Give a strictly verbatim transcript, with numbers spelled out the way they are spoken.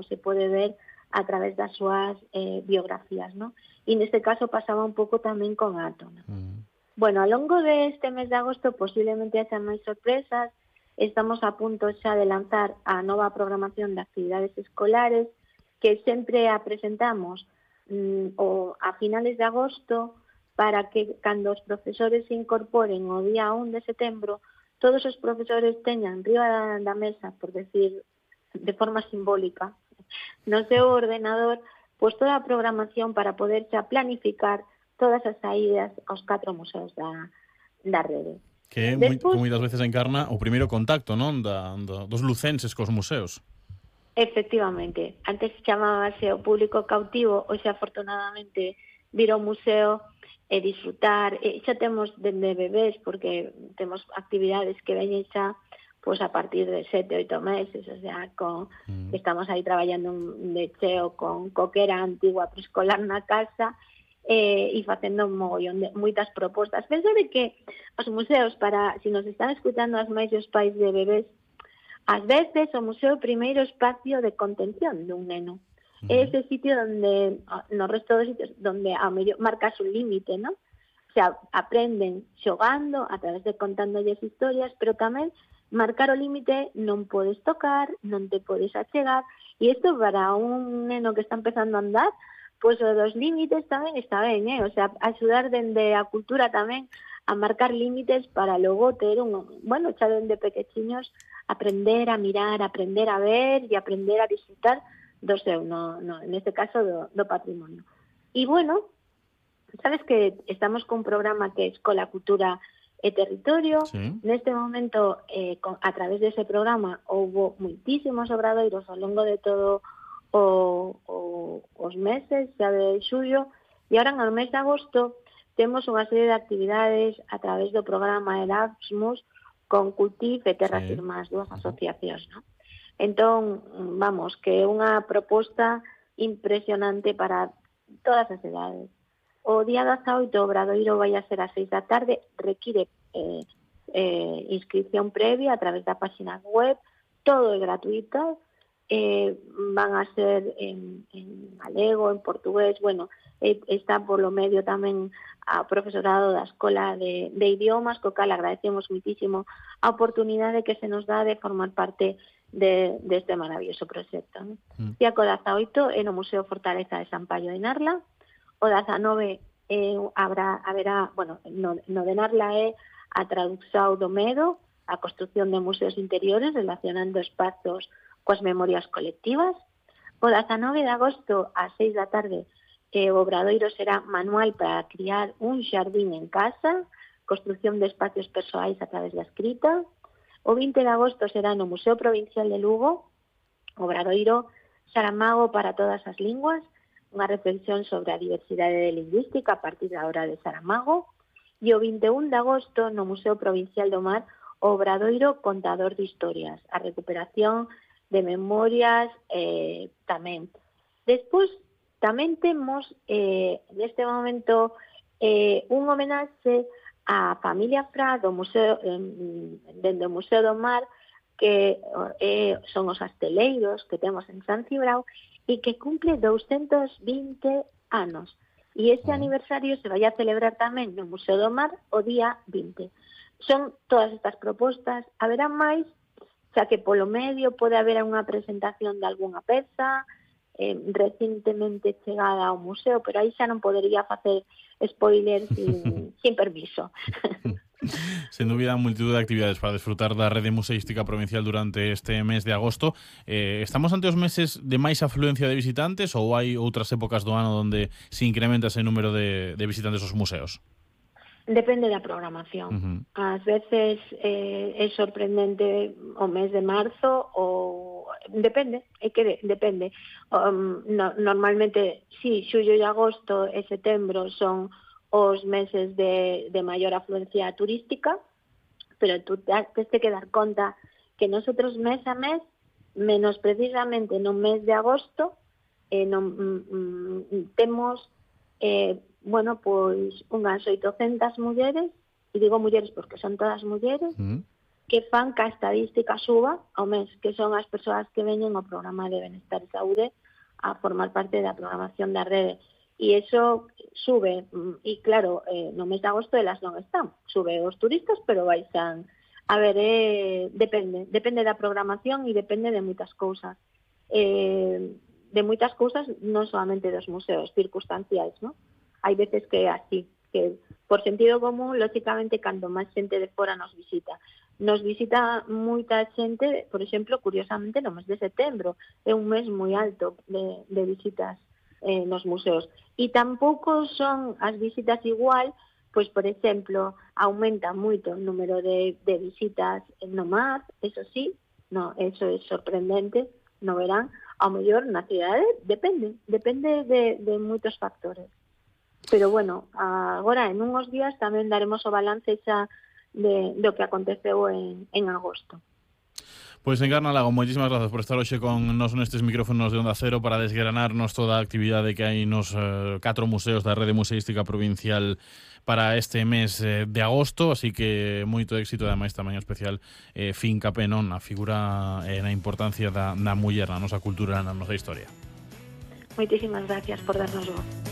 se pode ver a través das súas eh, biografías, ¿no? E neste caso pasaba un pouco tamén con Ato, ¿no? Mm. Bueno, ao longo deste mes de agosto posiblemente haxa máis sorpresas. Estamos a punto xa de lanzar a nova programación de actividades escolares que sempre a presentamos mm, o a finales de agosto para que cando os profesores se incorporen o día un de setembro todos os profesores teñan riba da, da mesa, por decir de forma simbólica, no seu ordenador, pois toda a programación para poder xa planificar todas as saídas aos catro museos da, da rede. Que Despois, moitas veces encarna o primeiro contacto, non, da, da, dos lucenses cos museos. Efectivamente. Antes chamábase o público cautivo, hoxe afortunadamente vir ao museo e disfrutar. E xa temos dende bebés, porque temos actividades que veñen xa pois a partir de sete, oito meses, o sea, con, mm. estamos aí traballando un de cheo con coquera antigua preescolar na casa eh, e facendo un mogollón de moitas propostas. Penso de que os museos, para, si nos están escutando as máis os pais de bebés, ás veces o museo é o primeiro espacio de contención dun neno. Mm. É ese sitio donde, no resto dos sitios, donde a mellor marcas un límite, ¿no? O sea, aprenden xogando, a través de contándolles historias, pero tamén marcar o límite, non podes tocar, non te podes achegar, e isto para un neno que está empezando a andar, pois o dos límites tamén está ben, eh? O sea, axudar dende a cultura tamén a marcar límites para logo ter un, bueno, xa dende pequechiños, aprender a mirar, aprender a ver e aprender a disfrutar do seu, no, no, neste caso do, do patrimonio. E bueno, sabes que estamos con un programa que é Escola, Cultura e Territorio. Sí. Neste momento, eh, con, a través dese programa, houve moitísimos obradoiros ao longo de todo o, o, os meses, xa de xullo, e agora no mes de agosto temos unha serie de actividades a través do programa Erasmus con Cultiv e Terras sí. Irmás, dúas asociacións, ¿no? Entón, vamos, que é unha proposta impresionante para todas as edades. O día dezaoito o obradoiro vai a ser ás seis da tarde, require eh, eh, inscripción previa a través da página web, todo é gratuito, eh, van a ser en, en galego, en portugués, bueno, eh, está polo medio tamén a profesorado da Escola de, de Idiomas, co cal agradecemos muitísimo a oportunidade que se nos dá de formar parte de, de este maravilloso proxecto, ¿no? Mm. Día co dezaoito é no Museo Fortaleza de San Paio de Narla. O dezanove eh, habrá, haberá, bueno, no, no de Narla é a traducción do medo, a construción de museos interiores relacionando espazos coas memorias colectivas. O dezanove de agosto ás seis da tarde eh, o obradoiro será manual para criar un xardín en casa, construción de espacios persoais a través da escrita. O vinte de agosto será no Museo Provincial de Lugo, obradoiro Saramago para todas as linguas, unha reflexión sobre a diversidade lingüística a partir da obra de Saramago, e o vinte e un de agosto no Museo Provincial do Mar o obradoiro Contador de Historias, a recuperación de memorias eh, tamén. Despois tamén temos eh, neste momento eh, un homenaxe á familia Fra do Museo eh, dende o Museo do Mar, que eh, son os asteleiros que temos en San Cibrao e que cumple doscientos vinte anos. E este aniversario se vai a celebrar tamén no Museo do Mar o día vinte. Son todas estas propostas, haberá máis, xa que polo medio pode haber unha presentación de algunha peza eh, recentemente chegada ao museo, pero aí xa non podería facer spoiler sin, sin permiso. Sen dúbida, multitud de actividades para desfrutar da rede museística provincial durante este mes de agosto. Eh, estamos ante os meses de máis afluencia de visitantes ou hai outras épocas do ano onde se incrementa ese número de, de visitantes aos museos? Depende da programación. Uh-huh. Ás veces eh, é sorprendente o mes de marzo ou depende, é que de, depende. Um, no, normalmente, sí, xullo e agosto e setembro son os meses de, de maior afluencia turística, pero tú tens que dar conta que nosotros mes a mes, menos precisamente no mes de agosto, eh, non, mm, temos eh, bueno, pois unhas oitocentas mulleres, e digo mulleres porque son todas mulleres, mm. que fan que a estadística suba ao mes, que son as persoas que veñen ao programa de Benestar e Saúde a formar parte da programación da rede. E iso sube, e claro, eh, no mes de agosto elas non están. Sube os turistas, pero baixan. A ver, eh, depende, depende da programación e depende de moitas cousas. Eh, de moitas cousas, non solamente dos museos, circunstanciais, non? Hai veces que é así, que por sentido común, lógicamente, cando máis xente de fora nos visita. Nos visita moita xente, por exemplo, curiosamente, no mes de setembro. É un mes moi alto de, de visitas eh, nos museos. E tampouco son as visitas igual, pois, por exemplo, aumenta moito o número de, de visitas no mar, eso sí, no, eso é sorprendente, no verán. Ao mellor na cidade depende, depende de, de moitos factores. Pero bueno, agora en unhos días tamén daremos o balance xa de, do que aconteceu en, en agosto. Pois Encarna Lago, moitísimas grazas por estar hoxe con nos nestes micrófonos de Onda Cero para desgranarnos toda a actividade que hai nos eh, catro museos da Rede Museística Provincial para este mes eh, de agosto, así que moito éxito, ademais tamén especial eh, fincapé non na figura e eh, na importancia da, da muller na nosa cultura, na nosa historia. Moitísimas gracias por darnos voz.